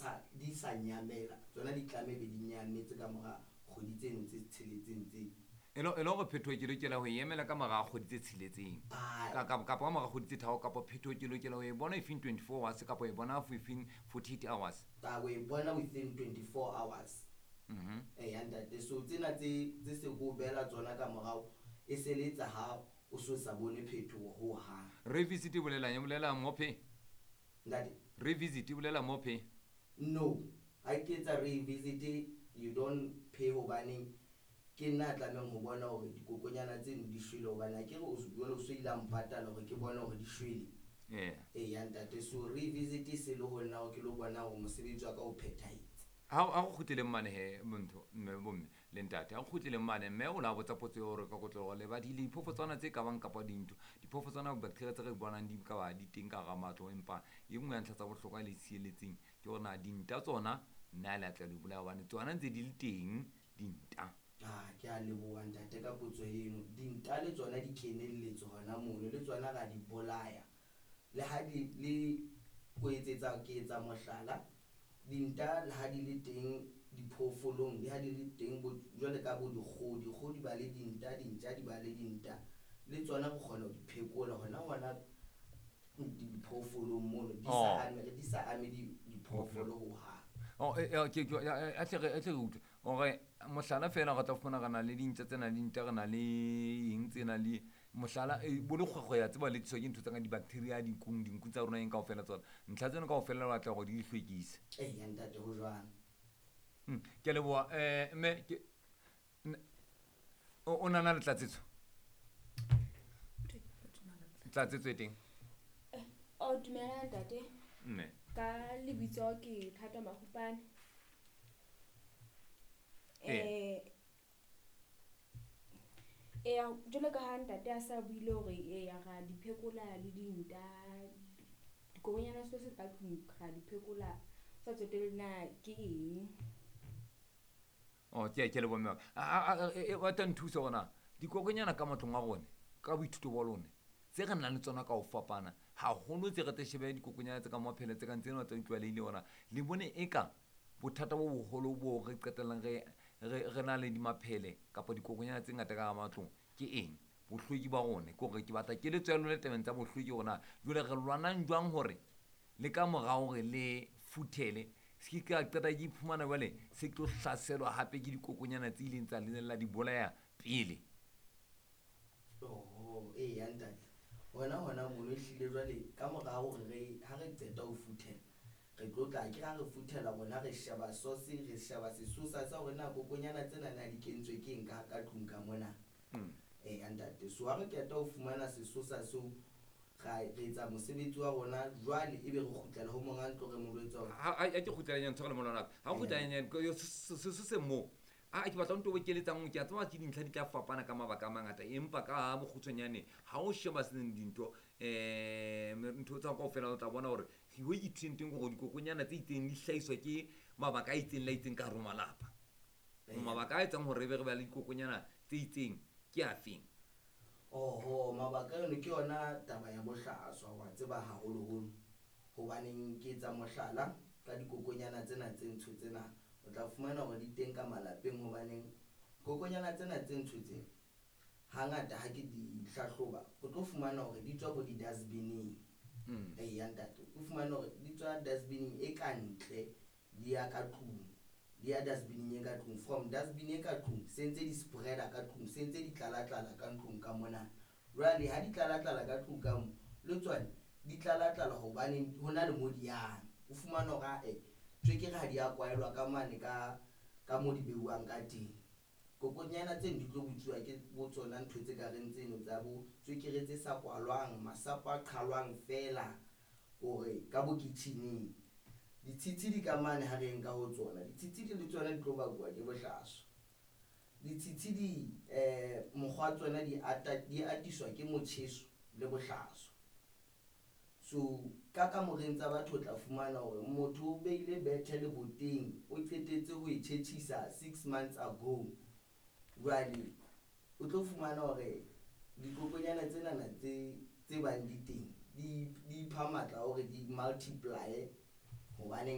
sa di sa nyamela, tsona di tlameha be di nyametse ka mora kgwedi tseno tse tsheletseng tse. E le hore phetoho ke lokela ho e emela ka mora kgwedi tse tsheletseng, kapa ka mora kgwedi tse tharo, kapa phetoho ke lokela ho e bona within 24 hours, kapa e bona within 48 hours? O e bona within 24 hours. Eya ntate, so tsena tse se ko beela tsona ka morao e seletsa ha o so sa bone phetoho ho hang. Revisit e bolelang, e bolela more pay? Ntate? Revisit e bolela more pay? No, ha ke etsa revisit you don't pay, hobaneng ke nna a tlamehang ho bona hore dikokonyana tseno di shwele, hobane ha ke re jwale o so ile a mpatala hore ke bone hore di shwele. Eya ntate, so revisit e se le ho nna hore ke lo bona hore mosebetsi wa ka o phethahetse. Ha go kgutleleng mane he, montho mme bomme le ntate, ha go kgutleleng mane mme o la botsa potso ya hore ka kotlologo le ba di le diphoofotswana tse ka bang kapa dintho, diphoofotswana bacteria tse re di bonang di ka ba di teng ka hara matlo, empa e nngwe ya ntlha tsa bohlokwa le tshieletseng ke hore na dinta tsona nna le atla di bolaya, hobane tsona ntse di le teng dinta. Ke a leboha ntate ka potso eno. Dinta le tsona di kenelletse hona mono, le tsona ra di bolaya. Le ha di le ho etsetsa, ke etsa mohlala, dinta le ha di le teng diphoofolong, le ha di le teng bo jwale ka bo dikgoho, dikgoho di ba le dinta, dintja di ba le dinta, le tsona re kgona ho di phekola hona diphoofolong mono, di sa ame, di sa ame diphoofolo ho hang. Oh, a tle re utlwe hore mohlala fela re tla fumana re na le dintja tse nang le dinta, re na le eng tse nang le mohlala, bo lekgwekgwe ya tseba le tliswa ke ntho tsa ka di-bacteria dinkung, dinku tsa rona eng kaofela tsona. Ntlha tseno kaofela re batla hore di hlwekise. Eya ntate, ho jwalo. Ke a leboha. Mme ke o nana le tlatsetso? Tlatsetso e teng? O dumela ntate. Mme. Ka lebitso ke Thato Mahupane. Eya, jwalo ka ha ntate a sa buile hore eya ra di phekola le dinta, dikokonyana tsohle ka tlung ra di phekola, sa tsotelle na ke eng. Oh, ke leboha mme wa ka. Wa tla nthusa hore na dikokonyana ka matlong a rona, ka boithuto ba lona, tse re nang le tsona ka ho fapana haholo, tse re tla shebe dikokonyana tse ka maphele tse kang tsena tse tlwaelehileng hore na le bone eka bothata bo boholo bo re qetellang re na le dimaphele kapa dikokonyana tse ngata ka hara matlong ke eng? Bohlweki ba rona. Ke hore ke batla keletso ya lona tabeng tsa bohlweki hore na jwale re lwanang jwang hore le ka mora hore le futhele se ke ka qeta ke iphumana jwale se tlo hlaselwa hape ke dikokonyana tse ileng tsa la di bolaya pele. Oho, eya ntate. Hona mono ehlile jwale ka mora hore re ha re qeta ho futhela, re tlo tla ke ha re futhela rona re sheba source, re sheba sesosa sa hore na kokonyana tsena na di kentswe ke eng ka tlung ka mona. Eya ntate, so ha re qeta ho fumana sesosa seo, re etsa mosebetsi wa rona jwale, ebe re kgutlela ho monga ntlo re mo jwetsa hore Ha ke kgutlela nyane, tshwarela mona nako. Ha kgutlela nyane, se mo. A ke batla nto bokeletsang, ke a tseba ke dintlha di tla fapana ka mabaka a mangata, empa ka bokgutshwanyane ha o sheba seng dintho, ntho tsa kaofela o tla bona hore ho ithuteng teng hore dikokonyana tse itseng di hlahiswa ke mabaka a itseng le a itseng ka hare ho malapa. Mabaka a etsang hore re be re ba le dikokonyana tse itseng ke afeng? Oho, mabaka ano ke yona taba ya bohlaswa, wa tseba haholoholo. Hobaneng ke etsa mohlala ka dikokonyana tsena tse ntsho tsena, o tla fumana hore di teng ka malapeng, hobaneng kokonyana tsena tse ntsho tsena hangata ha ke di hlahloba, o tlo fumana hore di tswa bo di-dustbin-eng. Eya ntate, o fumane hore di tswa dustbin-eng e ka ntle, di ya ka tlung, di ya dustbin-eng e ka tlung. From dustbin e ka tlung se ntse di spread-a ka tlung, se ntse di tlala-tlala ka ntlong ka mona. Jwale ha di tlala-tlala ka tlung ka mo, le tsona di tlala-tlala hobane ho na le mo di yang. O fumane hore ae tswekere ha di a kwaelwa ka mane ka mo di beuwang ka teng. Kokonyana tseno di tlo butsuwa ke bo tsona ntho tse ka reng tseno tsa bo tswekere tse sa kwalwang, masapo a qhalwang fela hore ka bo kitchen-eng. Ditshitshi di ka mane ha re nka ho tsona, ditshitshi di le tsona di tlo bakuwa ke bohlaswa. Ditshitshi di mokgwa tsona di ata, di atiswa ke motjheso le bohlaswa. So ka kamoreng tsa batho o tla fumana hore motho o beile bethe leboteng, o qetetse ho e tjhetjhisa 6 months ago. Jwale o tlo fumana hore dikokonyana tsenana tse bang di teng di ipha matla hore di multiply, hobaneng